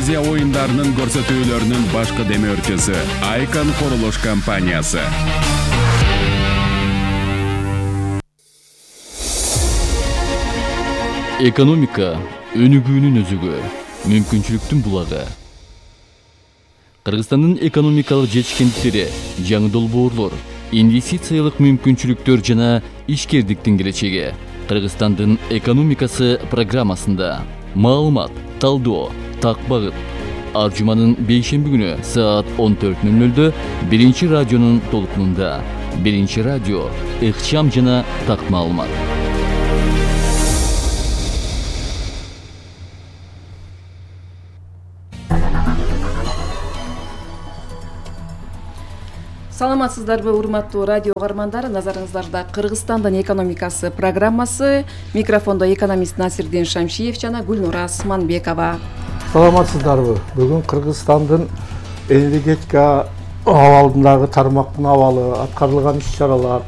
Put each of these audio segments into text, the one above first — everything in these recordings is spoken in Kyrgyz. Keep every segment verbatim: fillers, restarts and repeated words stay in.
Азия оюндарынын көрсөтүүлөрүнүн башкы демөөрчүсү Айкан курулуш компаниясы. Экономика өнүгүүнүн өзөгү, мүмкүнчүлүктүн булагы. Кыргызстандын экономикалык жетишкендиктери, жаңы долбоорлор, инвестициялык мүмкүнчүлүктөр жана ишкердиктин келечеги. Кыргызстандын экономикасы программасында маалымат, талдоо, так багыт. Ар жуманын бейшемби күнү саат он төрт ноль нольдө биринчи радионун толкунунда. Биринчи радио, ыкчам жана так маалымат. Саламатсыздарбы, урматтуу радио каармандар. Назарыңыздарда Кыргызстандын экономикасы программасы. Микрофондо экономист Насирдин Шамшиев жана Гүлнура Асманбекова. Саламатсыздарбы. Бүгүн Кыргызстандын энергетика абалындагы тармактын абалы, аткарылган иш-чаралар,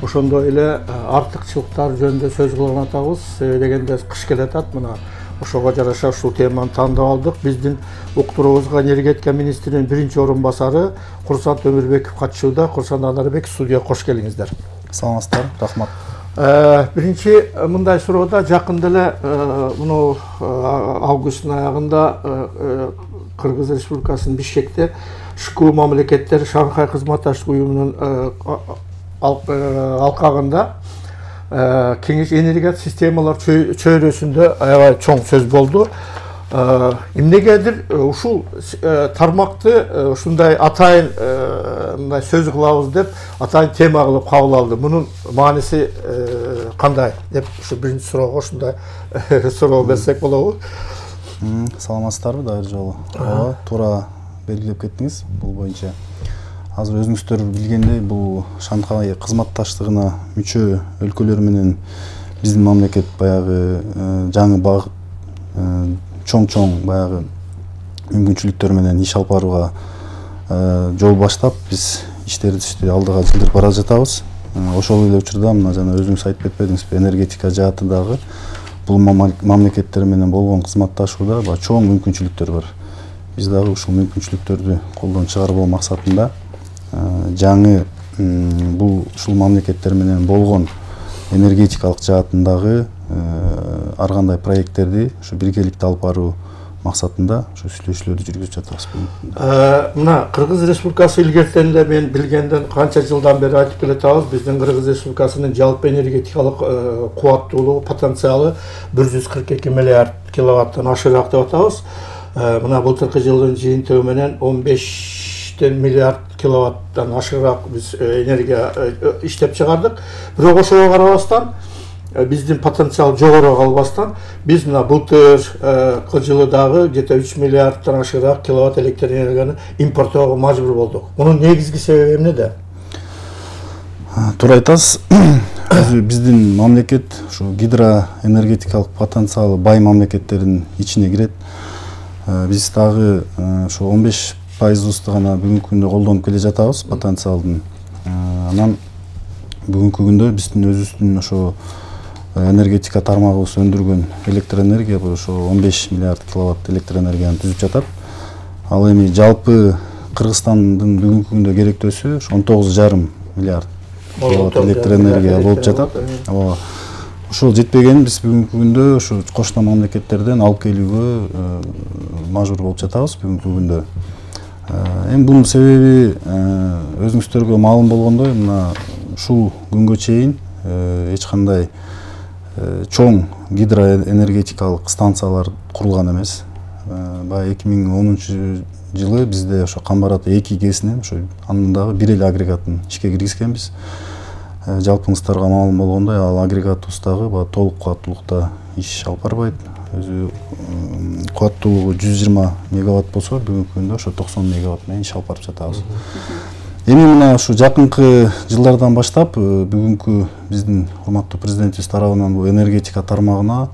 ошондой эле артыкчылыктар жөнүндө сөз кылган атабыз. Дегенде кыш келатат, мына ошого жараша ушул теманы тандап алдык. Биздин уктуруубузга энергетика министринин биринчи орун басары Курсан Өмүрбеков катышууда. Курсан Анарбек, студияга кош келиңиздер. Саламатсыздар, рахмат. Биринчи мындай суроодо, жакында эле муну августтун аягында Кыргыз Республикасынын Бишкекте ШКУ мамлекеттер Шанхай кызматташтык уюмунун алкагында кеңеш энергия системалар чөйрөсүндө аябай чоң сөз болду. Эмнегедир ушул тармакты ушундай атайын мындай сөз кылабыз деп атайын тема кылып кабыл алды. Мунун мааниси кандай деп ушу биринчи суроого ушундай суроо берсек болобу? Саламатсыздарбы, дайыр жолу. Ооба, туура белгилеп кеттиңиз. Бул боюнча азыр өзүңүздөр билгендей, бул Шанхай кызматташтыгына мүчө өлкөлөр менен биздин мамлекет баягы жаңы багыт, чоң-чоң баягы мүмкүнчүлүктөр менен иш алып барууга жол баштап, биз иштерибизди алдыга жылдырып бара жатабыз. Ошол эле учурда мына жана өзүңүз айтып кетпедиңизби, энергетика жаатындагы бул мамлекеттер менен болгон кызматташууда чоң мүмкүнчүлүктөр бар. Биз дагы ушул мүмкүнчүлүктөрдү колдон чыгарбоо максатында жаңы бул ушул мамлекеттер менен болгон энергетикалык жаатындагы ар кандай проекттерди ушу биргеликте алып баруу максатында ушу сүйлөшүүлөрдү жүргүзүп жатабыз. Мына Кыргыз Республикасы илгертен эле мен билгенден канча жылдан бери айтып келатабыз, биздин Кыргыз Республикасынын жалпы энергетикалык кубаттуулугу, потенциалы бир жүз кырк эки миллиард киловаттан ашыраак деп атабыз. Мына былтыркы жылдын жыйынтыгы менен он бештен миллиард киловаттан ашыраак биз энергия иштеп чыгардык. Бирок ошого карабастан, биздин потенциал жогору калбастан, биз мына былтыркы жылы дагы где-то үч миллиардтан ашыраак киловатт электр энергияны импорттоого мажбур болдук. Мунун негизги себеби эмнеде? Туура айтасыз. Биздин мамлекет ушу гидроэнергетикалык потенциалы бай мамлекеттердин ичине кирет. Биз дагы ушу он беш пайызыбызды гана бүгүнкү күндө колдонуп келе жатабыз потенциалдын. Анан бүгүнкү күндө биздин өзүбүздүн ошо энергетика тармагыбыз өндүргөн электр энергия ошо он беш миллиард киловатт электр энергияны түзүп жатат. Ал эми жалпы Кыргызстандын бүгүнкү күндө керектөөсү он тогуз жарым миллиард киловатт электр энергия болуп жатат. Ооба. Ушул жетпеген биз бүгүнкү күндө ушу кошуна мамлекеттерден алып келүүгө мажбур болуп жатабыз бүгүнкү күндө. Эми бунун себеби өзүңүздөргө маалым болгондой, мына ушул күнгө чейин эч кандай чоң гидроэнергетикалык станциялар курулган эмес. Баягы эки миң онунчу жылы бизде ошо Камбарат эки кесинен ошо анын дагы бир эле агрегатын ишке киргизгенбиз. Жалпыңыздарга маалым болгондой, ал агрегатыбыз дагы баягы толук кубаттуулукта иш алып барбайт. Өзү кубаттуулугу жүз жыйырма мегаватт болсо, бүгүнкү күндө ошо токсон мегаватт менен иш алып барып жатабыз. Эми мына ушу жакынкы жылдардан баштап бүгүнкү биздин урматтуу президентибиз тарабынан бул энергетика тармагына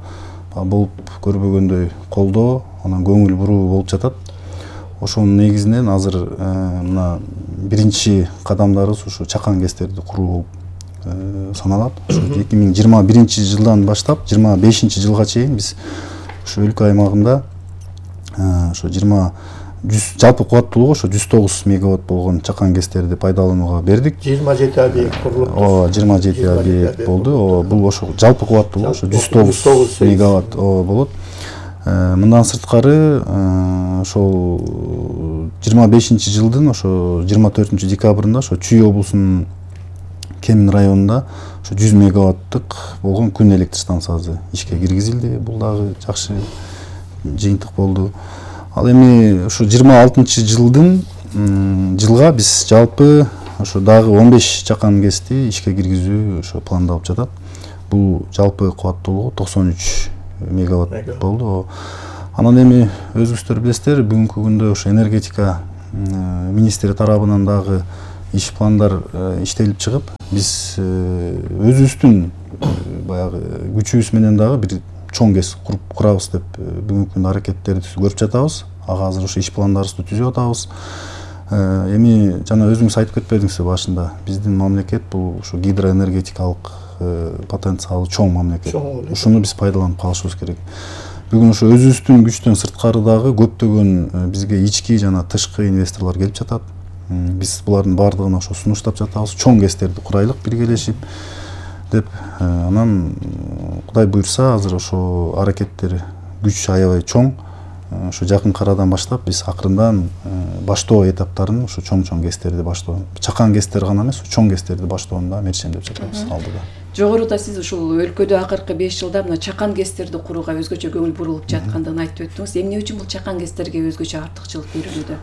болуп көрбөгөндөй колдоо, анан көңүл буруу болуп жатат. Ошонун негизинен азыр мына биринчи кадамдарыбыз ушу чакан кестерди куруу болуп саналат. эки миң жыйырма биринчи жылдан баштап жыйырма бешинчи жылга чейин биз ушу өлкө аймагында ошо жыйырма жүз жалпы кубаттуулугу ошо жүз тогуз мегаватт болгон чакан гэстерди пайдаланууга бердик. жыйырма жети объект курулуп. Ооба, жыйырма жети объект болду. Ооба, бул ошо жалпы кубаттуулугу ошо жүз тогуз мегаватт болот. Мындан сырткары ошол жыйырма бешинчи жылдын ошо жыйырма төртүнчү декабрында ошо Чүй облусунун Кемин районунда ошо жүз мегаваттык болгон күн электр станциясы ишке киргизилди. Бул дагы жакшы жыйынтык болду. Ал эми ошо жыйырма алтынчы жылдын жылга биз жалпы ошо дагы он беш чакан гэсти ишке киргизүү ошо пландалып жатат. Бул жалпы кубаттуулугу токсон үч мегаватт болду. Анан эми өзүңүздөр билесиздер, бүгүнкү күндө ошо энергетика министри тарабынан дагы иш пландар иштелип чыгып, биз өзүбүздүн баягы күчүбүз менен дагы бир чоң гэс куруп курабыз деп бүгүнкү күндө аракеттерди көрүп жатабыз. Ага азыр ошо иш пландарыбызды түзүп атабыз. Эми жана өзүңүз айтып кетпедиңизби башында, биздин мамлекет бул ошо гидроэнергетикалык потенциалы чоң мамлекет. Ушуну биз пайдаланып калышыбыз керек. Бүгүн ошо өзүбүздүн күчтөн сырткары дагы көптөгөн бизге ички жана тышкы инвесторлор келип жатат. Биз булардын баардыгына ошо сунуштап жатабыз. Чоң гэстерди курайлык биргелешип деп. Анан Кудай буйрса азыр ошо аракеттер күч аябай чоң. Ошо жакынкы арадан баштап биз акырындан баштоо этаптарын ошо чоң-чоң гэстерди баштоо, чакан гэстер гана эмес, чоң гэстерди баштоону да мерчендеп жатабыз алдыда. Жогоруда сиз ушул өлкөдө акыркы беш жылда мына чакан гэстерди курууга өзгөчө көңүл бурулуп жаткандыгын айтып өттүңүз. Эмне үчүн бул чакан гэстерге өзгөчө артыкчылык берилүүдө?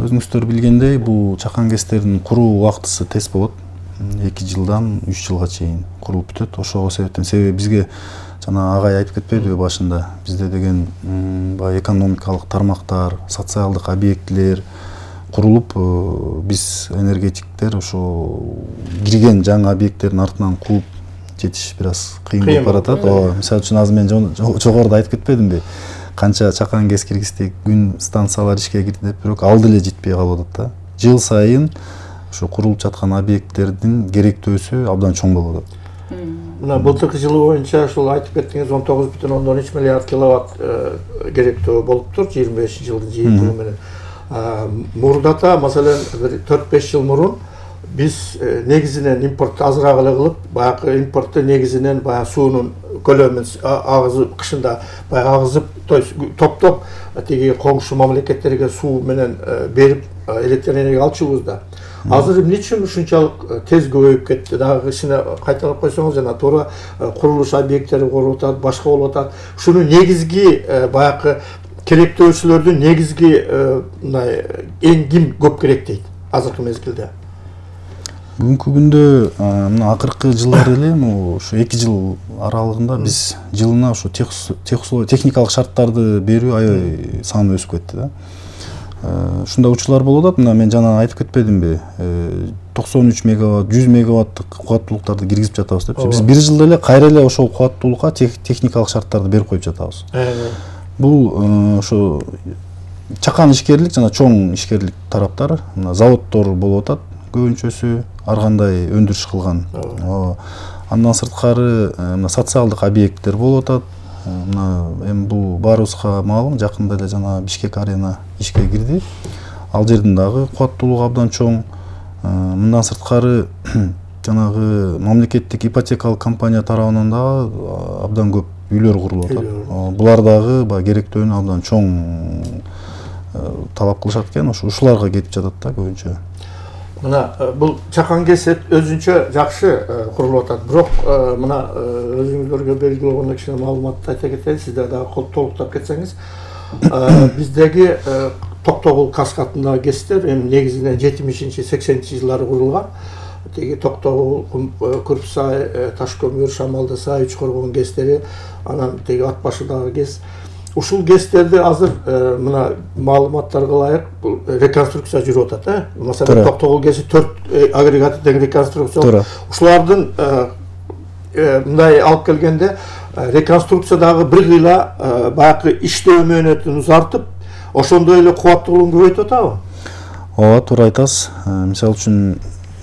Өзүңүздөр билгендей, бул чакан гэстердин куруу убактысы тез болот. эки жылдан үч жылга чейин курулуп бүтөт. Ошого себептен себеби бизге жана агай айтып кетпедиби башында, бизде деген баягы экономикалык тармактар, социалдык объектилер курулуп, биз энергетиктер ошо кирген жаңы объекттердин артынан кууп жетиш бир аз кыйын болуп баратат. Ооба, мисалы үчүн азыр мен жогоруда айтып кетпедимби? Канча чакан гэс киргиздик, күн станциялар ишке кирди деп, бирок алды эле жетпей калып атат да. Жыл сайын ошо курулуп жаткан объекттердин керектөөсү абдан чоң болуп атат. Мына былтыркы жылы боюнча ушул айтып кеттиңиз он тогуз бүтүн ондон үч миллиард киловатт керектөө болуптур жыйырма бешинчи жылдын жыйынтыгы менен. Мурдата маселен бир төрт беш жыл мурун биз негизинен импорт азыраак эле кылып, баягы импортту негизинен баягы суунун көлөмүн агызып, кышында баягы агызып, то есть топтоп тиги коңшу мамлекеттерге суу менен берип электр энергия алчубуз да. Азыр эмне үчүн ушунчалык тез көбөйүп кетти? Дагы кичине кайталап койсоңуз, жана туура курулуш объекттери куруп атат, башка болуп атат. Ушуну негизги баягы керектөөчүлөрдүн негизги мындай эң ким көп керектейт азыркы мезгилде? Бүгүнкү күндө мына акыркы жылдары эле ушу эки жыл аралыгында биз жылына ушу техникалык шарттарды берүү аябай саны өсүп кетти да. Ушундай учурлар болуп атат. Мына мен жана айтып кетпедимби? токсон үч мегаватт, жүз мегаваттык кубаттуулуктарды киргизип жатабыз депчи. Биз бир жылда эле кайра эле ошол кубаттуулукка техникалык шарттарды берип коюп жатабыз. Бул ошо чакан ишкерлик жана чоң ишкерлик тараптар, мына заводдор болуп атат көбүнчөсү, ар кандай өндүрүш кылган. Андан сырткары мына социалдык объекттер болуп атат. Мына эми бул баарыбызга маалым, жакында эле жана Бишкек арена ишке кирди. Ал жердин дагы кубаттуулугу абдан чоң. Мындан сырткары жанагы мамлекеттик ипотекалык компания тарабынан дагы абдан көп үйлөр курулуп атат. Булар дагы баягы керектөөнү абдан чоң талап кылышат экен, ушуларга кетип жатат да көбүнчө. Мына бул чакан гэс өзүнчө жакшы курулуп атат. Бирок мына өзүңүздөргө белгилүү болгондой кичине маалыматты айта кетейин, сиздер дагы толуктап кетсеңиз. Биздеги Токтогул каскадындагы гэстер эми негизинен жетимишинчи сексенинчи жылдары курулган. Теги Токтогул, Күрпсай, Ташкөмүр, Шамалды сай, Үч Коргон гэстери, анан теги ат башыдагы гэс. Ушул гэстерди азыр мына маалыматтарга ылайык реконструкция жүрүп атат, э? Маселен, Токтогул гэси төрт агрегаты тең реконструкция. Ушулардын мындай алып келгенде реконструкциядагы бир кыйла баягы иштөө мөөнөтүн узартып, ошондой эле кубаттуулугун көбөйтүп атабы? Ооба, туура айтасыз. Мисалы үчүн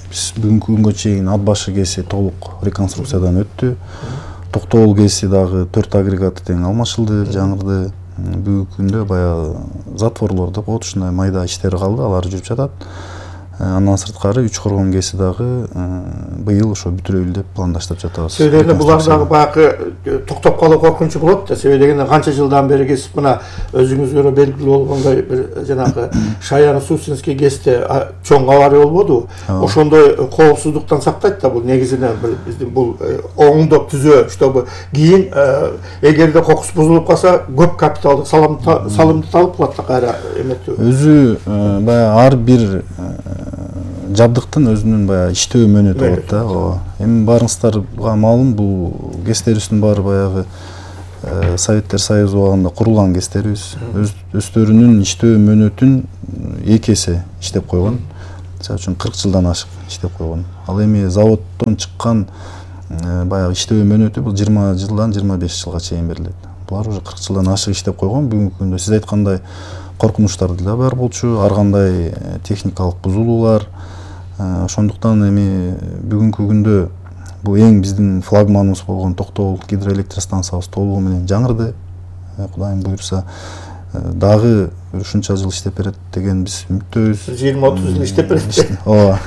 биз бүгүнкү күнгө чейин ат башы гэси толук реконструкциядан өттү. Токтогул гэси дагы төрт агрегаты тең алмашылды, жаңырды. бүгүнкү күндө баягы затворлор деп коет, ушундай майда иштери калды, алар жүрүп жатат. Андан сырткары үч коргон ГЭСи дагы быйыл ошо бүтүрөлү деп пландаштырып жатабыз. Себеби дегенде булар дагы баягы токтоп калуу коркунучу болот да. Себеби дегенде канча жылдан бери ГЭС мына өзүңүзгө белгилүү болгондой бир жанагы Шаян-Сусинский ГЭСте чоң авария болбодубу? Ошондой коопсуздуктан сактайт да бул негизинен биздин бул оңдоп түзөө, чтобы кийин эгерде кокус бузулуп калса көп капиталдык салымды талап кылат да кайра эметүү. Өзү баягы ар бир жабдыктын өзүнүн баягы иштөө мөөнөтү болот да. Ооба. Эми баарыңыздарга маалым, бул ГЭСтерибиздин баары баягы Советтер Союзу убагында курулган ГЭСтерибиз өздөрүнүн иштөө мөөнөтүн эки эсе иштеп койгон. Мисалы үчүн кырк жылдан ашык иштеп койгон. Ал эми заводдон чыккан баягы иштөө мөөнөтү бул жыйырма жылдан жыйырма беш жылга чейин берилет. Булар уже кырк жылдан ашык иштеп койгон. Бүгүнкү күндө сиз айткандай коркунучтар да бар болчу, ар кандай техникалык бузулуулар. Ошондуктан эми бүгүнкү күндө бул эң биздин флагманыбыз болгон Токтогул гидроэлектростанциябыз толугу менен жаңырды. Кудайым буйрса дагы ушунча жыл иштеп берет деген биз үмүттөбүз. жыйырма отуз жыл иштеп берет. Ооба.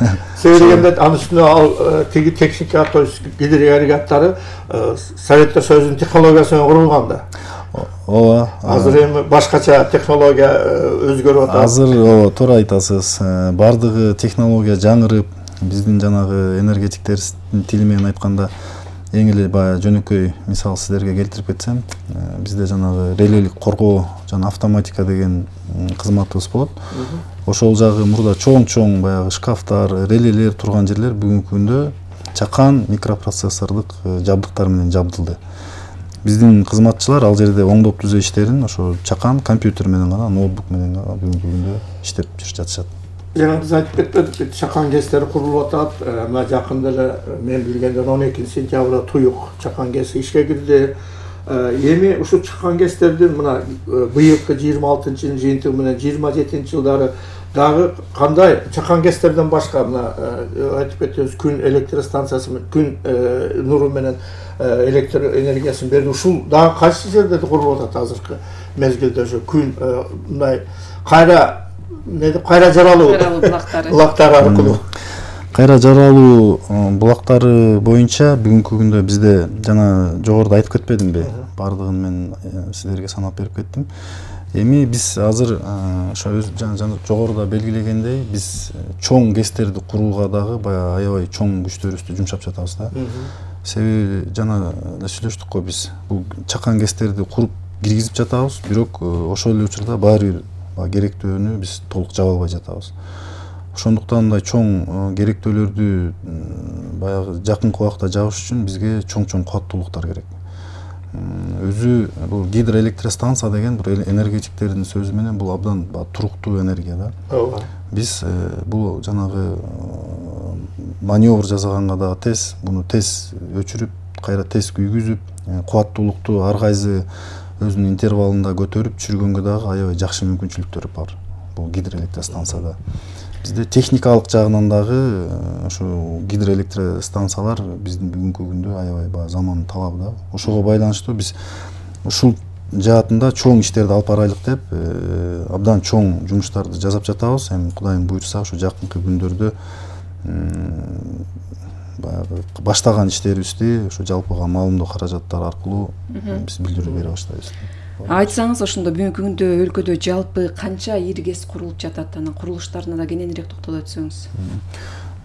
Себеби дегенде анын үстүнө ал тиги техника, то есть гидроагрегаттары Советтер Союзунун технологиясына курулган да. Ооба. Азыр эми башкача технология өзгөрүп атат. Азыр ооба, туура айтасыз. Бардыгы технология жаңырып, биздин жанагы энергетиктердин тили менен айтканда эң эле баягы жөнөкөй мисал сиздерге келтирип кетсем, бизде жанагы релелик коргоо жана автоматика деген кызматыбыз болот. Ошол жагы мурда чоң-чоң баягы шкафтар, релелер турган жерлер бүгүнкү күндө чакан микропроцессордук жабдыктар менен жабдылды. Биздин кызматчылар ал жерде оңдоп түзөө иштерин ошо чакан компьютер менен гана, ноутбук менен гана бүгүнкү күндө иштеп жүрүп жатышат. Жана биз айтып кетпедик, чакан ГЭСтери курулуп атат. Мына жакында эле мен билгенден он экинчи сентябрда Туюк чакан ГЭСи ишке кирди. Эми ушул чакан ГЭСтердин мына быйылкы жыйырма алтынчы жылдын жыйынтыгы менен жыйырма жетинчи жылдары дагы кандай чакан ГЭСтерден башка мына айтып кетебиз, күн электростанциясы менен, күн нуру менен электр энергиясын берди. Ушул дагы кайсы жерде курулуп атат азыркы мезгилде? Ошо күн мындай кайра не деп кайра жаралуу булактары булактары аркылуу кайра жаралуу булактары боюнча бүгүнкү күндө бизде жана жогоруда айтып кетпедимби, бардыгын мен сиздерге санап берип кеттим. Эми биз азыр ошо жана жогоруда белгилегендей биз чоң ГЭСтерди курууга дагы баягы аябай чоң күчтөрүбүздү жумшап жатабыз да. Себеби жана эле сүйлөштүк го, биз бул чакан ГЭСтерди куруп киргизип жатабыз, бирок ошол эле учурда баары бир керектөөнү биз толук жаба албай жатабыз. Ошондуктан мындай чоң керектөөлөрдү баягы жакынкы убакта жабыш үчүн бизге чоң-чоң кубаттуулуктар керек. Өзү бул гидроэлектростанция деген бир энергетиктердин сөзү менен бул абдан туруктуу энергия да. Ооба. Биз бул жанагы маневр жасаганга дагы тез, буну тез өчүрүп, кайра тез күйгүзүп, кубаттуулукту ар кайсы өзүнүн интервалында көтөрүп түшүргөнгө дагы аябай жакшы мүмкүнчүлүктөр бар бул гидроэлектростанцияда. Бизде техникалык жагынан дагы ошо гидроэлектростанциялар биздин бүгүнкү күндө аябай баягы замандын талабы да. Ошого байланыштуу биз ушул жаатында чоң иштерди алып барайлык деп абдан чоң жумуштарды жасап жатабыз. Эми Кудайым буйрса ошо жакынкы күндөрдө баягы баштаган иштерибизди ошо жалпыга маалымдоо каражаттары аркылуу биз билдирүү бере баштайбыз. Айтсаңыз, ошондо бүгүнкү күндө өлкөдө жалпы канча ири ГЭС курулуп жатат, анан курулуштарына да кененирээк токтоло өтсөңүз.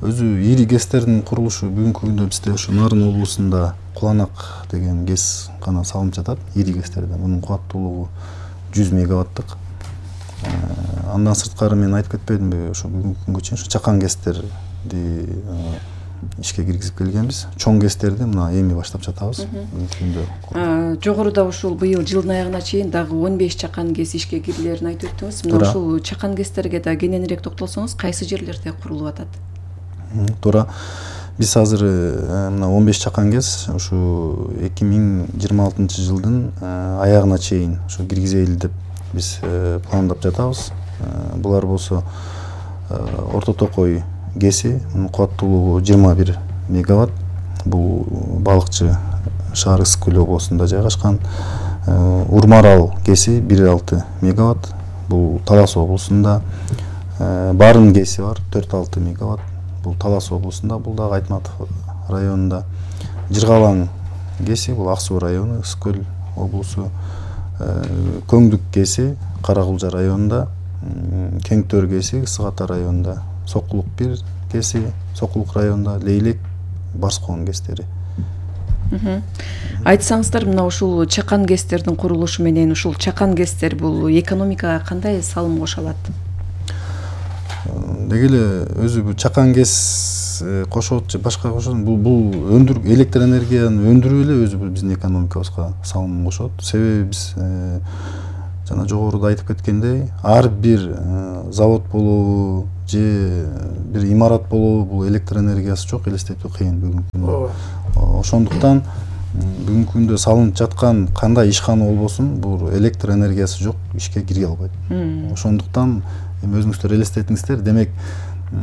Өзү ири ГЭСтердин курулушу бүгүнкү күндө бизде ошо Нарын облусунда Куланак деген ГЭС гана салынып жатат, ири ГЭСтерден. Мунун кубаттуулугу жүз мегаваттык. Андан сырткары мен айтып кетпедимби, ошо бүгүнкү күнгө чейин ошо чакан ГЭСтерди ишке киргизип келгенбиз. Чоң ГЭСтерди мына эми баштап жатабыз. Жогоруда ушул быйыл жылдын аягына чейин дагы он беш чакан ГЭС ишке кирилерин айтып өттүңүз. Мына ушул чакан ГЭСтерге да кененирээк токтолсоңуз, кайсы жерлерде курулуп атат? Туура. Биз азыр мына он беш чакан ГЭС ушу эки миң жыйырма алтынчы жылдын аягына чейин ушу киргизели деп биз пландап жатабыз. Булар болсо Орто Токой ГЭСи, мунун кубаттуулугу жыйырма бир мегаватт. Бул балыкчы шаар Ысык Көл облусунда жайгашкан. Урмарал ГЭСи бир алты мегаватт, бул Талас облусунда. Барын ГЭСи бар төрт алты мегаватт, бул Талас облусунда, бул дагы Айтматов районунда. Жыргалаң ГЭСи бул Ак Суу району, Ысык Көл облусу. Көңдүк ГЭСи Каракулжа районунда, Кеңтөр ГЭСи Ысык Ата районунда, Сокулук бир ГЭСи Сокулук районунда, Лейлек, Барскоон ГЭСтери. Айтсаңыздар, мына ушул чакан ГЭСтердин курулушу менен ушул чакан ГЭСтер бул экономикага кандай салым кошо алат? Деги эле өзү бул чакан ГЭС кошот же башка кошот, бул бул өндүр электр энергияны өндүрүү эле өзү бул биздин экономикабызга салым кошот. Себеби биз жана жогоруда айтып кеткендей, ар бир завод болобу же бир имарат болобу бул электр энергиясы жок, элестетүү кыйын бүгүнкү күндө. Ошондуктан бүгүнкү күндө салынып жаткан кандай ишкана болбосун, бул электр энергиясы жок, ишке кире албайт. Ошондуктан эми өзүңүздөр элестетиңиздер, демек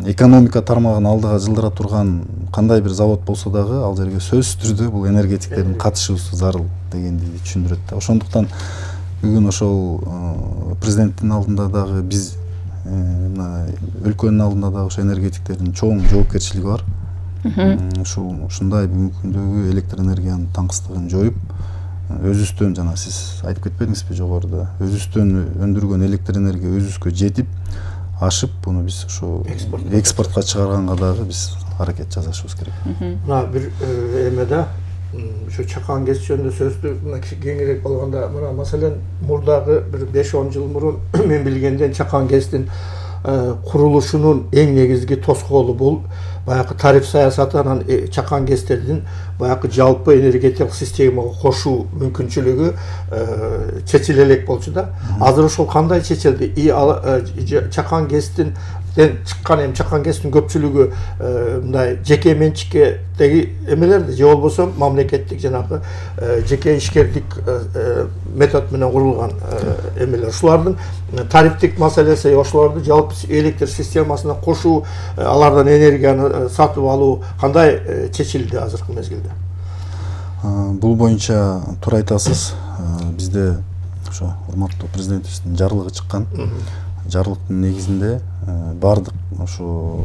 экономика тармагын алдыга жылдыра турган кандай бир завод болсо дагы ал жерге сөзсүз түрдө бул энергетиктердин катышуусу зарыл дегенди түшүндүрөт да. Ошондуктан бүгүн ошол президенттин алдында дагы биз мына өлкөнүн алдында дагы ошо энергетиктердин чоң жоопкерчилиги бар. Ушул ушундай бүгүнкү күндөгү электр энергиянын таңкыстыгын жоюп, өзүбүздөн жана сиз айтып кетпедиңизби жогоруда, өзүбүздөн өндүргөн электр энергия өзүбүзгө жетип, ашып, буну биз ошо экспортко чыгарганга дагы биз аракет жасашыбыз керек. Мына бир эмеде ошо чакан ГЭС жөнүндө сөздү мына кеңирээк болгондо, мына маселен мурдагы бир беш он жыл мурун мен билгенден чакан ГЭСтин курулушунун эң негизги тоскоолу бул баягы тариф саясаты, анан чакан ГЭСтердин баягы жалпы энергетикалык системага кошуу мүмкүнчүлүгү чечиле элек болчу да. Азыр ошол кандай чечилди? И чакан ГЭСтин чыккан эми чакан ГЭСтин көпчүлүгү мындай жеке менчиккеги эмелерди, же болбосо мамлекеттик жанагы жеке ишкердик метод менен курулган эмелер. Ушулардын тарифтик маселеси, ошолорду жалпы электр системасына кошуу, алардан энергияны сатып алуу кандай чечилди азыркы мезгилде? Бул боюнча туура айтасыз. Бизде ошо урматтуу президентибиздин жарлыгы чыккан. Жарлыктын негизинде бардык ошо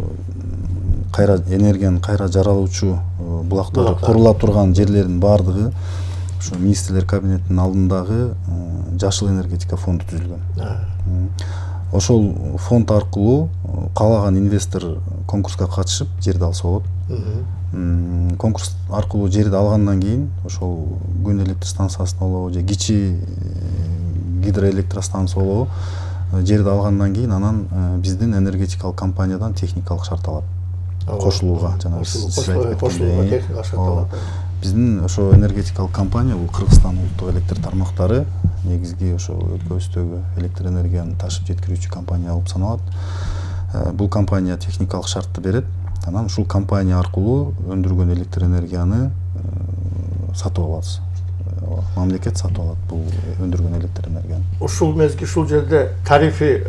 кайра энергияны кайра жаралуучу булактар курула турган жерлердин бардыгы ошо министрлер кабинетинин алдындагы жашыл энергетика фонду түзүлгөн. Ошол фонд аркылуу каалаган инвестор конкурска катышып жерди алса болот. Конкурс аркылуу жерди алгандан кийин ошол күн электр станциясын болобу же кичи гидроэлектростанция болобу, жерди алгандан кийин анан биздин энергетикалык компаниядан техникалык шарт алат кошулууга. Жана сиз айтып кеткендей, биздин ошо энергетикалык компания бул Кыргызстан улуттук электр тармактары негизги ошо өлкөбүздөгү электр энергияны ташып жеткирүүчү компания болуп саналат. Бул компания техникалык шартты берет, анан ушул компания аркылуу өндүргөн электр энергияны сатып алабыз. Мамлекет сатып алат бул өндүргөн электр энергияны. Ушул мезгил ушул жерде тарифи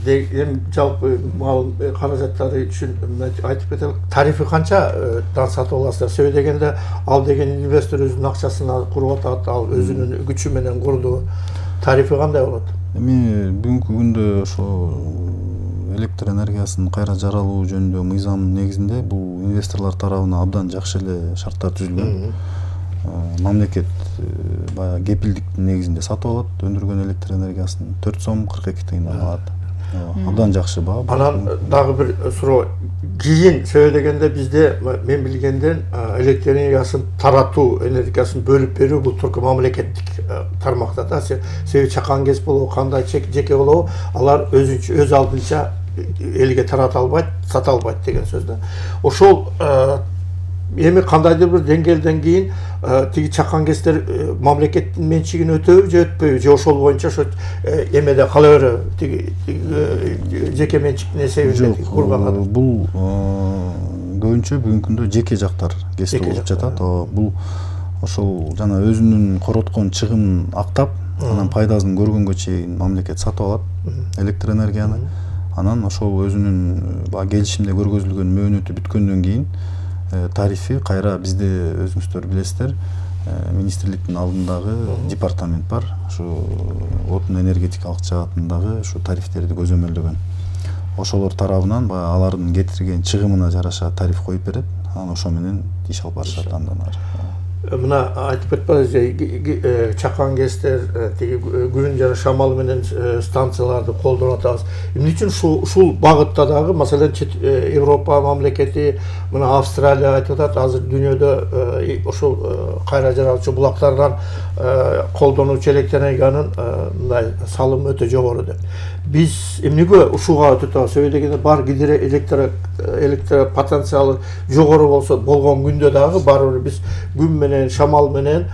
эми жалпы мал каражаттары үчүн айтып кетелик. Тарифи канчадан сатып аласыздар? Себеби дегенде ал деген инвестор өзүнүн акчасына куруп атат, ал өзүнүн күчү менен курду. Тарифи кандай болот? Эми бүгүнкү күндө ошо электр энергиясын кайра жаралуу жөнүндө мыйзамдын негизинде бул инвесторлор тарабынан абдан жакшы эле шарттар түзүлгөн. Мамлекет баягы кепилдиктин негизинде сатып алат, өндүргөн электр энергиясын төрт сом кырк эки тыйындан алат. Абдан жакшы баа. Анан дагы бир суроо. Кийин себеби дегенде бизде мен билгенден электр энергиясын таратуу, энергиясын бөлүп берүү бул турку мамлекеттик тармакта да. Себеби чакан ГЭС болобу, кандай жеке болобу, алар өзүнчө өз алдынча элге тарата албайт, сата албайт деген сөз да. Ошол эми кандайдыр бир деңгээлден кийин тиги чакан ГЭСтер мамлекеттин менчигине өтөбү же өтпөйбү, же ошол боюнча ошо эмеде кала береби, тиги жеке менчиктин эсебинде курган. Бул көбүнчө бүгүнкү күндө жеке жактар ГЭСти болуп жатат. Бул ошол жана өзүнүн короткон чыгымын актап, анан пайдасын көргөнгө чейин мамлекет сатып алат электр энергияны. Анан ошол өзүнүн баягы келишимде көргөзүлгөн мөөнөтү бүткөндөн кийин тарифи кайра бизде өзүңүздөр билесиздер, министрликтин алдындагы департамент бар. Ушу отун энергетикалык жаатындагы ушу тарифтерди көзөмөлдөгөн. Ошолор тарабынан баягы алардын кетирген чыгымына жараша тариф коюп берет. Анан ошо менен иш алып барышат андан ары. Мына айтып кетпедиңиз, чакан кестер, тиги күн жана шамал менен станцияларды колдонуп атабыз. Эмне үчүн ушул ушул багытта дагы, маселен, Европа мамлекети, мына Австралия айтып атат, азыр дүйнөдө ошол кайра жаратуучу булактардан колдонуучу электр энергиянын мындай салымы өтө жогору деп. Биз эмнеге ушуга өтүп атабыз? Себеби дегенде бар гидро электр электр потенциалы жогору болсо болгон күндө дагы барыбыр биз күн менен шамал менен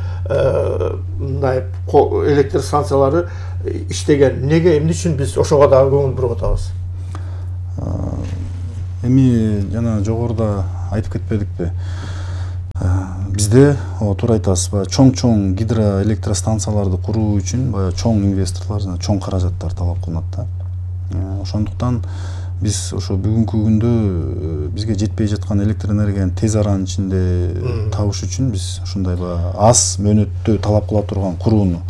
мындай электр станциялары иштеген. Неге, эмне үчүн биз ошого дагы көңүл буруп атабыз? Эми жана жогоруда айтып кетпедикпи? Бизде туура айтасыз, баягы чоң-чоң гидроэлектростанцияларды куруу үчүн баягы чоң инвесторлор жана чоң каражаттар талап кылынат да. Ошондуктан биз ошо бүгүнкү күндө бизге жетпей жаткан электр энергияны тез аранын ичинде табыш үчүн биз ушундай баягы аз мөөнөттө талап кыла турган курууну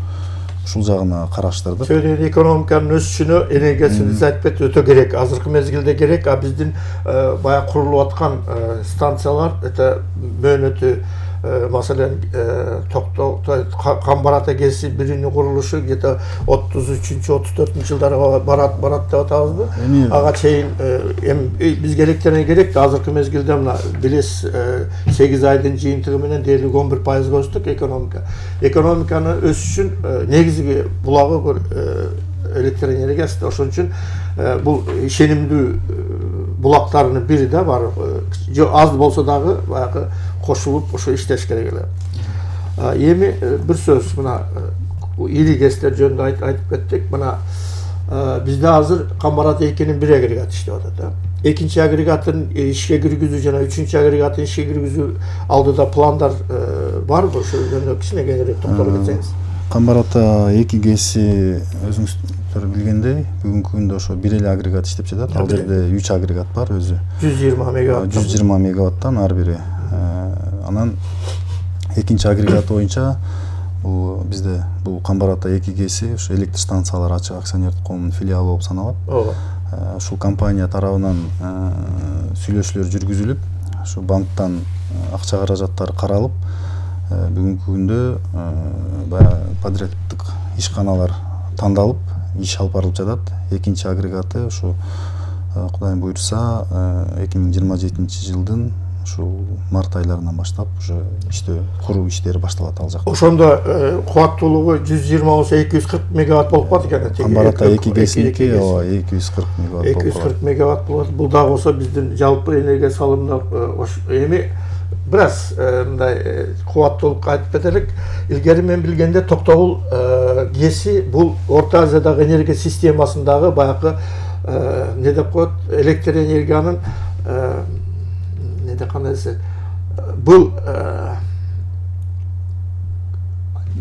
ушул жагына караштырдык. Сөйдөгөн экономиканын өсүшүнө энергиясын айтып өтө керек. Азыркы мезгилде керек, а биздин баягы курулуп аткан станциялар өтө мөөнөтү, маселен, Камбарата ГЭСи биринин курулушу где-то отуз үчүнчү отуз төртүнчү жылдарга барат барат деп атабызбы? Ага чейин бизге электр энергия керек. Азыркы мезгилде мына билесиз, сегиз айдын жыйынтыгы менен дээрлик он бир пайызга өстүк экономика. Экономиканы өсүшүн негизги булагы бир электр энергиясы. Ошон үчүн бул ишенимдүү булактарынын бири да бар. Аз болсо дагы баягы кошулуп ошо иштеш керек эле. Эми бир сөз, мына ири ГЭСтер жөнүндө айтып кеттик. Мына бизде азыр Камбарата экинин бир агрегаты иштеп атат. Экинчи агрегатын ишке киргизүү жана үчүнчү агрегатын ишке киргизүү алдыда пландар барбы? Ошол жөнүндө кичине кеңирээк токтолуп кетсеңиз. Камбарата эки ГЭСи өзүңүздөр билгендей, бүгүнкү күндө ошо бир эле агрегат иштеп жатат. Ал жерде үч агрегат бар өзү. жүз жыйырма мегаватт. жүз жыйырма мегаваттан ар бири. Анан экинчи агрегат боюнча бул бизде бул Камбарата эки ГЭСи ошо электр станциялары ачык акционердик коомунун филиалы болуп саналат. Ооба. Ушул компания тарабынан сүйлөшүүлөр жүргүзүлүп, ошо банктан акча каражаттары каралып, бүгүнкү күндө баягы подрядтык ишканалар тандалып, иш алып барылып жатат. Экинчи агрегаты ушу Кудайым буйрса эки миң жыйырма жетинчи жылдын ушул март айларынан баштап уже иштөө куруу иштери башталат ал жакта. Ошондо кубаттуулугу жүз жыйырма болсо эки жүз кырк мегаватт болуп калат экен. Камбарата эки ГЭСиники ооба эки жүз кырк мегаватт болуп калат. эки жүз кырк мегаватт болот. Бул дагы болсо биздин жалпы энергия салымына эми бираз мындай кубаттуулук айтып кетелик. Илгери мен билгенде Токтогул ГЭСи бул Орто Азиядагы энергия системасындагы баягы не деп коет, электр энергиянын не деп кандай десе, бул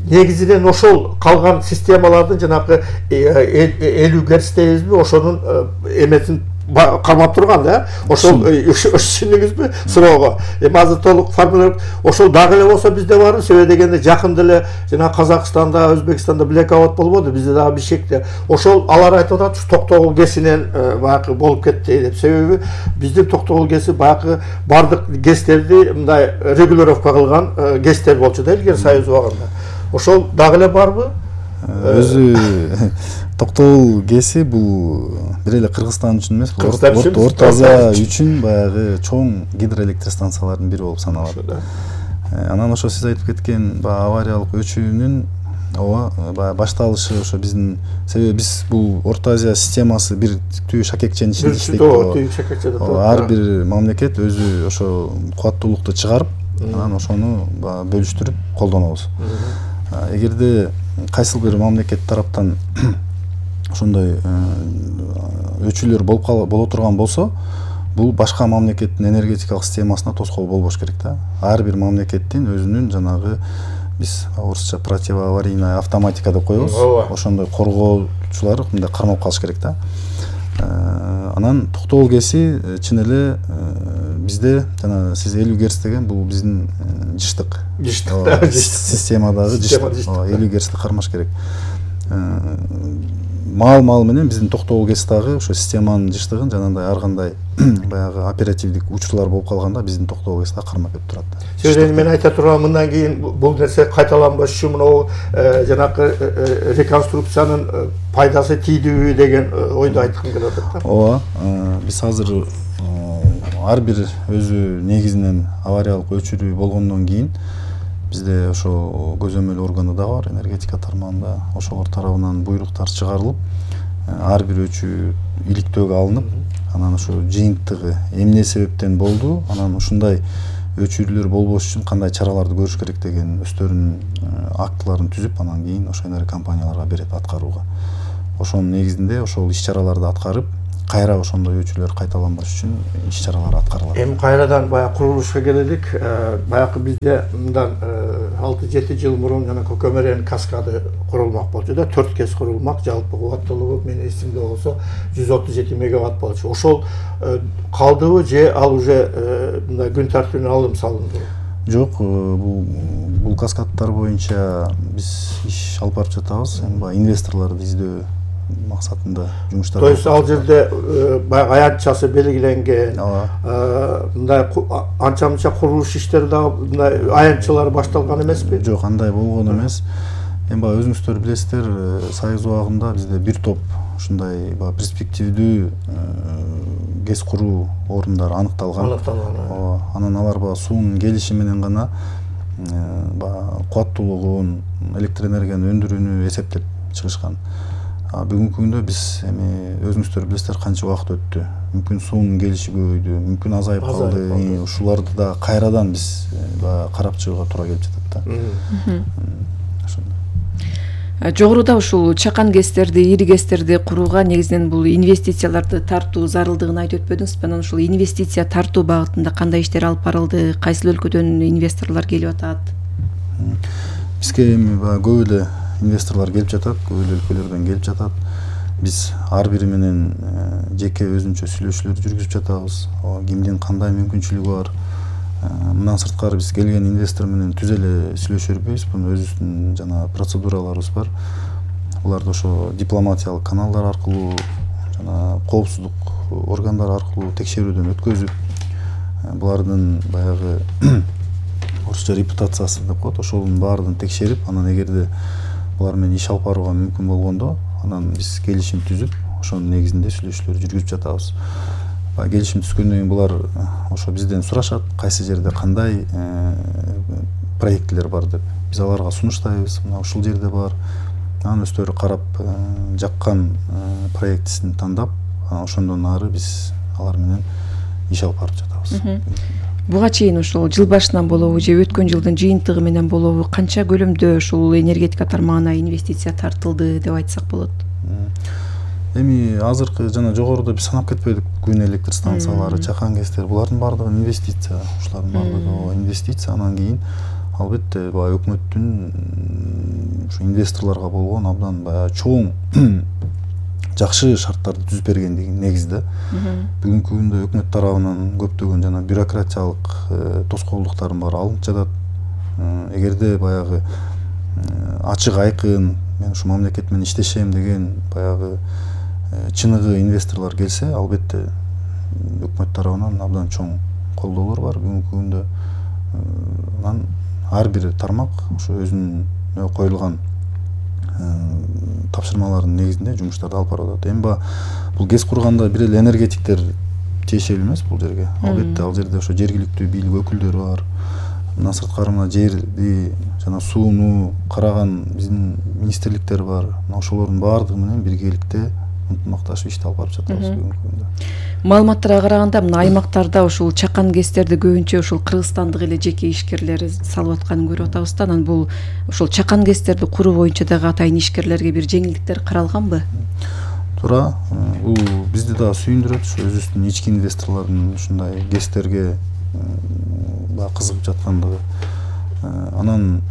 негизинен ошол калган системалардын жанагы элүү герц дейбизби, ошонун эметин кармап турган да. Ошол түшүндүңүзбү суроого? Эми азыр толук формулировка ошол дагы эле болсо бизде барбы? Себеби дегенде жакында эле жана Казакстанда, Өзбекстанда блекаут болбоду, бизде дагы Бишкекте. Ошол алар айтып атат, Токтогул ГЭСинен баягы болуп кетти деп. Себеби биздин Токтогул ГЭСи баягы бардык ГЭСтерди мындай регулировка кылган ГЭСтер болчу да илгери Союз убагында. Ошол дагы эле барбы? Өзү Токтогул ГЭСи бул бир эле Кыргызстан үчүн эмес, Орто Азия үчүн баягы чоң гидроэлектростанциялардын бири болуп саналат. Анан ошо сиз айтып кеткен баягы авариялык өчүүнүн ооба баягы башталышы ошо биздин, себеби биз бул Орто Азия системасы бир түү шакекченин ичинде иштейт. Ар бир мамлекет өзү ошо кубаттуулукту чыгарып, анан ошону бөлүштүрүп колдонобуз. Эгерде кайсыл бир мамлекет тараптан ошондой өчүүлөр болуп боло турган болсо, бул башка мамлекеттин энергетикалык системасына тоскоол болбош керек да. Ар бир мамлекеттин өзүнүн жанагы биз орусча противоаварийная автоматика деп коебуз. Ошондой коргоочулар мындай кармап калыш керек да. Анан Токтогул ГЭСи чын эле бизде жана сиз элүү герц деген бул биздин жыштык жыштык системадагы жыштык элүү герцти кармаш керек. Маал маал менен биздин токтогул кес дагы ошо системанын жыштыгын жанагындай ар кандай баягы оперативдик учурлар болуп калганда биздин токтогул кес дагы кармап кетип турат. Сөзүн мен айта турган, мындан кийин бул нерсе кайталанбаш үчүн мына жанакы реконструкциянын пайдасы тийдүүбү деген ойду айткым келип атат да. Ооба, биз азыр ар бир өзү негизинен авариялык өчүрүү болгондон кийин бизде ошо көзөмөл органы да бар энергетика тармагында, ошолор тарабынан буйруктар чыгарылып, ар бир өчүү иликтөөгө алынып, анан ошо жыйынтыгы эмне себептен болду, анан ушундай өчүрүүлөр болбош үчүн кандай чараларды көрүш керек деген өздөрүнүн актыларын түзүп, анан кийин ошо энерги компанияларга берет аткарууга. Ошонун негизинде ошол иш чараларды аткарып, кайра ошондой өчүрлөр кайталанбаш үчүн иш чаралар аткарылат. Эми кайрадан баягы курулушка келелик. Баягы бизде мындан алты жети жыл мурун жана Көкөмөрен каскады курулмак болчу да, төрт кес курулмак, жалпы кубаттуулугу менин эсимде болсо жүз отуз жети мегаватт болчу. Ошол калдыбы же ал уже мындай күн тартибине алым салынды? Жок, бул бул каскадтар боюнча биз иш алып барып жатабыз. Эми баягы инвесторлорду издөө максатында жумуштар. То есть ал жерде баягы аянтчасы белгиленген, мындай анча мынча курулуш иштери дагы мындай аянтчалар башталган эмеспи? Жок, андай болгон эмес. Эми баягы өзүңүздөр билесиздер, Союз убагында бизде бир топ ушундай баягы перспективдүү гез куруу орундары аныкталган. Аныкталган. Анан алар баягы суунун келиши менен гана баягы кубаттуулугун, электр энергияны өндүрүүнү эсептеп чыгышкан. Бүгүнкү күндө биз эми өзүңүздөр билесиздер канча убакыт өттү. Мүмкүн суунун келиши көбөйдү, мүмкүн азайып калды. Ушуларды да кайрадан биз баягы карап чыгууга туура келип жатат да. Ошондой. Жогоруда ушул чакан гэстерди, ири гэстерди курууга негизинен бул инвестицияларды тартуу зарылдыгын айтып өтпөдүңүзбү? Анан ушул инвестиция тартуу багытында кандай иштер алып барылды? Кайсыл өлкөдөн инвесторлор келип атат? Бизге эми баягы көп эле инвесторлор келип жатат, көп эле өлкөлөрдөн келип жатат. Биз ар бири менен жеке өзүнчө сүйлөшүүлөр жүргүзүп жатабыз. Кимдин кандай мүмкүнчүлүгү бар. Мындан сырткары биз келген инвестор менен түз эле сүйлөшө бербейбиз. Бунун өзүбүздүн жана процедураларыбыз бар. Буларды ошо дипломатиялык каналдар аркылуу жана коопсуздук органдары аркылуу текшерүүдөн өткөзүп, булардын баягы орусча репутациясы деп коет, ошонун баардыгын текшерип, анан эгерде булар менен иш алып барууга мүмкүн болгондо, анан биз келишим түзүп, ошонун негизинде сүйлөшүүлөр жүргүзүп жатабыз. Келишим түзгөндөн кийин булар ошо бизден сурашат, кайсы жерде кандай проектлер бар деп. Биз аларга сунуштайбыз, мына ушул жерде бар. Анан өздөрү карап, жаккан проектисин тандап, ошондон ары биз алар менен иш алып барып жатабыз. Буга чейин ушул жыл башынан болобу же өткөн жылдын жыйынтыгы менен болобу канча көлөмдө ушул энергетика тармагына инвестиция тартылды деп айтсак болот? Эми азыркы жана жогоруда биз санап кетпедик, күн электр станциялары, чакан гэстер, булардын баардыгы инвестиция, ушулардын баардыгы инвестиция. Анан кийин албетте баягы өкмөттүн ушу инвесторлорго болгон абдан баягы чоң жакшы шарттарды түзүп бергендиги негизде. Бүгүнкү күндө өкмөт тарабынан көптөгөн жана бюрократиялык тоскоолдуктардын баары алынып жатат. Эгерде баягы ачык айкын мен ушу мамлекет менен иштешем деген баягы чыныгы инвесторлор келсе, албетте өкмөт тарабынан абдан чоң колдоолор бар бүгүнкү күндө. Анан ар бир тармак ошо өзүнүн коюлган тапшырмалардын негизинде жумуштарды алып барып атат. Эми бул гез курганда бир эле энергетиктер тиешелүү эмес бул жерге. Албетте ал жерде ошо жергиликтүү бийлик өкүлдөрү бар. Мындан сырткары мына жерди жана сууну караган биздин министрликтер бар. Мына ошолордун баардыгы менен биргеликте ынтымакташып ишти алып барып жатабыз бүгүнкү күндө. Маалыматтарга караганда мына аймактарда ушул чакан гэстерди көбүнчө ушул кыргызстандык эле жеке ишкерлер салып атканын көрүп атабыз да. Анан бул ушул чакан гэстерди куруу боюнча дагы атайын ишкерлерге бир жеңилдиктер каралганбы? Туура. Бул бизди да сүйүндүрөт. Ушу өзүбүздүн ички инвесторлордун ушундай гэстерге кызыгып жаткандыгы. Анан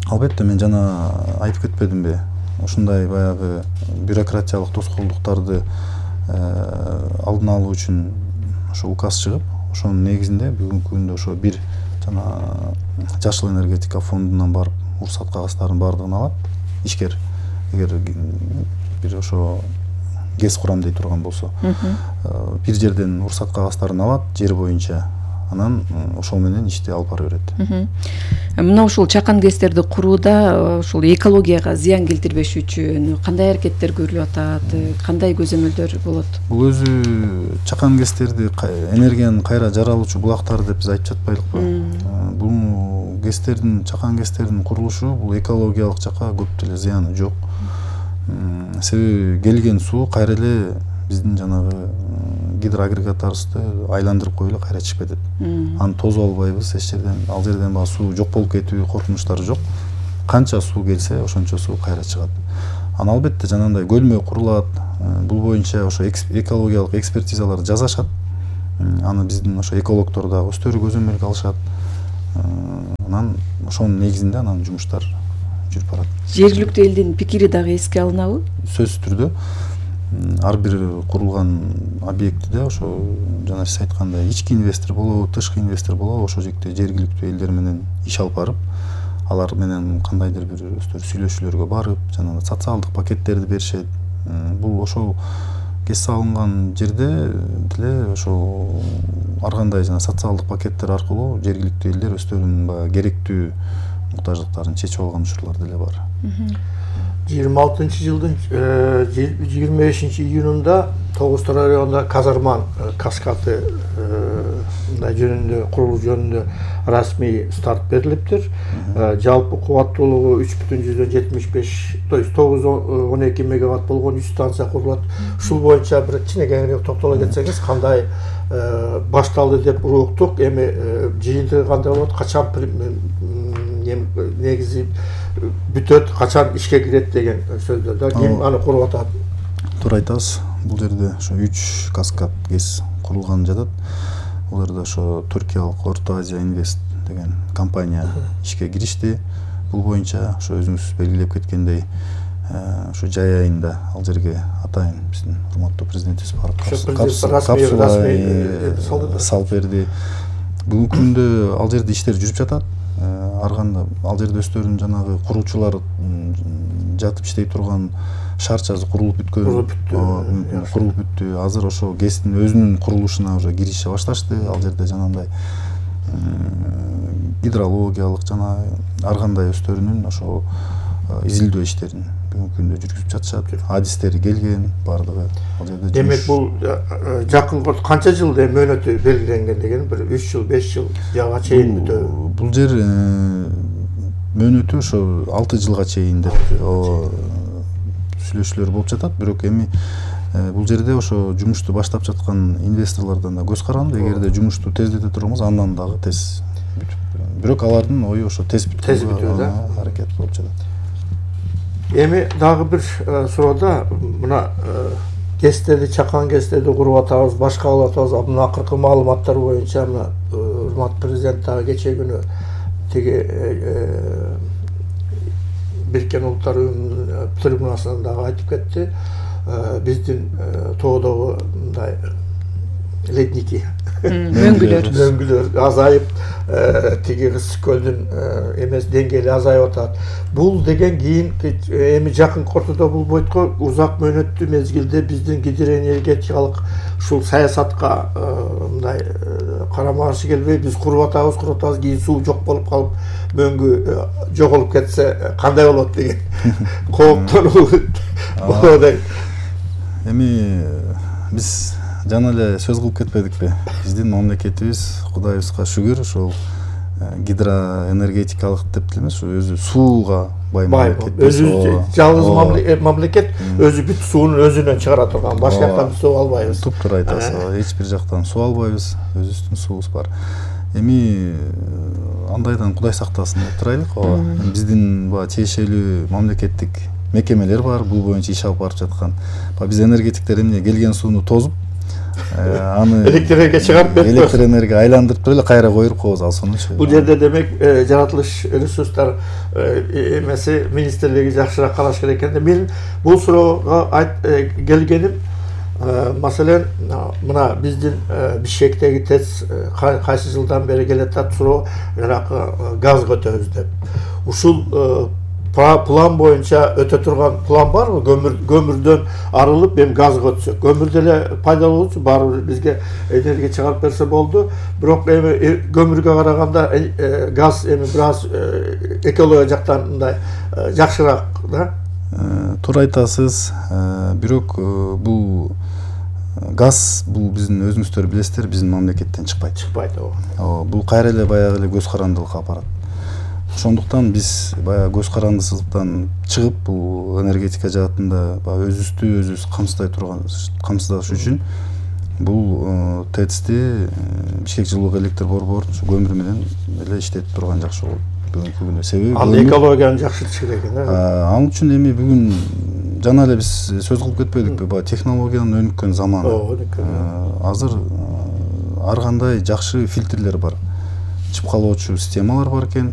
албетте мен жана айтып кетпедимби? Ушундай баягы бюрократиялык тоскоолдуктарды алдын алуу үчүн ошо указ чыгып, ошонун негизинде бүгүнкү күндө ошо бир жана жашыл энергетика фондунан барып уруксат кагаздарын баардыгын алат ишкер. Эгер бир ошо гез курам дей турган болсо, бир жерден уруксат кагаздарын алат жер боюнча, анан ошол менен ишти алып бара берет. Мына ушул чакан гэстерди курууда ушул экологияга зыян келтирбеш үчүн кандай аракеттер көрүлүп атат, кандай көзөмөлдөр болот? Бул өзү чакан гэстерди энергиянын кайра жаралуучу булактары деп биз айтып жатпайлыкпы? Бул гэстердин, чакан гэстердин курулушу бул экологиялык жака көп деле зыяны жок. Себеби келген суу кайра эле биздин жанагы гидроагрегаттарыбызды айландырып коюп эле кайра чыгып кетет. Аны тосуп албайбыз эч жерден. Ал жерден баягы суу жок болуп кетүү коркунучтары жок. Канча суу келсе, ошончо суу кайра чыгат. Аны албетте жанагындай көлмө курулат. Бул боюнча ошо экологиялык экспертизалар жасашат. Аны биздин ошо экологдор дагы өздөрү көзөмөлгө алышат. Анан ошонун негизинде анан жумуштар жүрүп барат. Жергиликтүү элдин пикири дагы эске алынабы? Сөзсүз түрдө ар бир курулган объектиде ошо жана сиз айткандай ички инвестор болобу, тышкы инвестор болобу, ошол жерде жергиликтүү элдер менен иш алып барып, алар менен кандайдыр бир өздөрү сүйлөшүүлөргө барып, жана социалдык пакеттерди беришет. Бул ошол кес салынган жерде деле ошо ар кандай жана социалдык пакеттер аркылуу жергиликтүү элдер өздөрүнүн баягы керектүү муктаждыктарын чечип алган учурлар деле бар. жыйырма алтынчы жылдын жыйырма бешинчи июнунда Тогуз районунда Казарман каскады жөнүндө курулуу жөнүндө расмий старт берилиптир. Жалпы кубаттуулугу үч бүтүн жүздөн жетимиш беш, то есть тогуз он эки мегаватт болгон үч станция курулат. Ушул боюнча бир кичинекейинирээк токтоло кетсеңиз, кандай башталды деп уруктук, эми жыйынтыгы кандай болот, качан негизи бүтөт, качан ишке кирет деген сөздөрдө ким аны куруп атат? Туура айтасыз. Бул жерде ошо үч каскад гез курулган жатат. Бул жерде ошо Түркиялык Орто Азия Инвест деген компания ишке киришти. Бул боюнча ошо өзүңүз белгилеп кеткендей, ошо жай айында ал жерге атайын биздин урматтуу президентибиз барып капсула салып берди. Бүгүнкү күндө ал жерде иштер жүрүп жатат. Ар кандай ал жерде өздөрүнүн жанагы куруучулар жатып иштей турган шарчасы курулуп бүткөн. Курулуп бүттү. Азыр ошо гэстин өзүнүн курулушуна уже кирише башташты. Ал жерде жанагындай гидрологиялык жана ар кандай өздөрүнүн ошо изилдөө иштерин бүгүнкү күндө жүргүзүп жатышат. Адистери келген баардыгы. Ал жерде демек бул жакын канча жылда мөөнөтү белгиленген деген, бир үч жыл, беш жыл жага чейин бүтөбү? Бул жер мөөнөтү ошо алты жылга чейин деп сүйлөшүүлөр болуп жатат. Бирок эми бул жерде ошо жумушту баштап жаткан инвесторлордон да көз каранды. Эгерде жумушту тездете турганбыз, андан дагы тез бүтүп. Бирок алардын ою ошо тез бүтүүгө аракет болуп жатат. Эми дагы бир суроодо мына гэстерди, чакан гэстерди куруп атабыз, башка кылып атабыз. Мына акыркы маалыматтар боюнча мына урматтуу президент дагы кечээ күнү тиги Бириккен Улуттар Уюмунун трибунасынан дагы айтып кетти. Биздин тоодогу мындай ледники, мөңгүлөр мөңгүлөр азайып, тиги Ысык көлдүн эмес деңгээли азайып атат. Бул деген кийин эми жакын ортодо бул бойтко узак мөөнөттүү мезгилде биздин гидроэнергетикалык ушул саясатка мындай карама каршы келбей, биз куруп атабыз, куруп атабыз, кийин суу жок болуп калып, мөңгү жоголуп кетсе кандай болот деген кооптонуу болот. Эми биз жана эле сөз кылып кетпедикпи? Биздин мамлекетибиз Кудайыбызга шүгүр ушул гидроэнергетикалык деп элемес, өзү сууга бай мамлекет. Өзү жалгыз мамлекет өзү бүт суунун өзүнөн чыгара турган, башка жактан суу албайбыз. Туптуура айтасыз. Эч бир жактан суу албайбыз, өзүбүздүн суубуз бар. Эми андайдан Кудай сактасын деп турайлык. Биздин баягы тиешелүү мамлекеттик мекемелер бар, бул боюнча иш алып барып жаткан. Биз энергетиктер эмне келген сууну тозуп, аны электр чыгарып берип, электр энергия айландырып туруп эле кайра коюп коебуз ал сунучу. Бул жерде демек жаратылыш ресурстар эмеси министрлиги жакшыраак караш керек экен. Мен бул суроого келгеним, Маселен, мына биздин Бишкектеги ТЭЦ кайсы жылдан бери келатат суроо, жанагы газ көтөбүз деп. Ушул план боюнча өтө турган план барбы? Көмүр көмүрдөн арылып эми газ көтсөк. Көмүр деле пайдалуу болчу, баары бир бизге энергия чыгарып берсе болду. Бирок эми көмүргө караганда газ эми бир аз экология жактан мындай жакшыраак да. Туура айтасыз. Бирок бул газ бул биздин өзүңүздөр билесиздер, биздин мамлекеттен чыкпайт. Чыкпайт ооба. Бул кайра эле баягы эле көз карандылыкка апарат. Ошондуктан биз баягы көз карандысыздыктан чыгып, бул энергетика жаатында баягы өзүбүздү өзүбүз камсыздай турган, камсыздаш үчүн бул ТЭЦти Бишкек жылуулук электр борборун көмүр менен эле иштетип турган жакшы болот бүгүнкү күндө. Себеби анда экологияны жакшыртыш керек экен. Ал үчүн эми бүгүн жана эле биз сөз кылып кетпедикпи? Баягы технологиянын өнүккөн заманы. Азыр ар кандай жакшы фильтрлер бар. Чыпкалоочу системалар бар экен.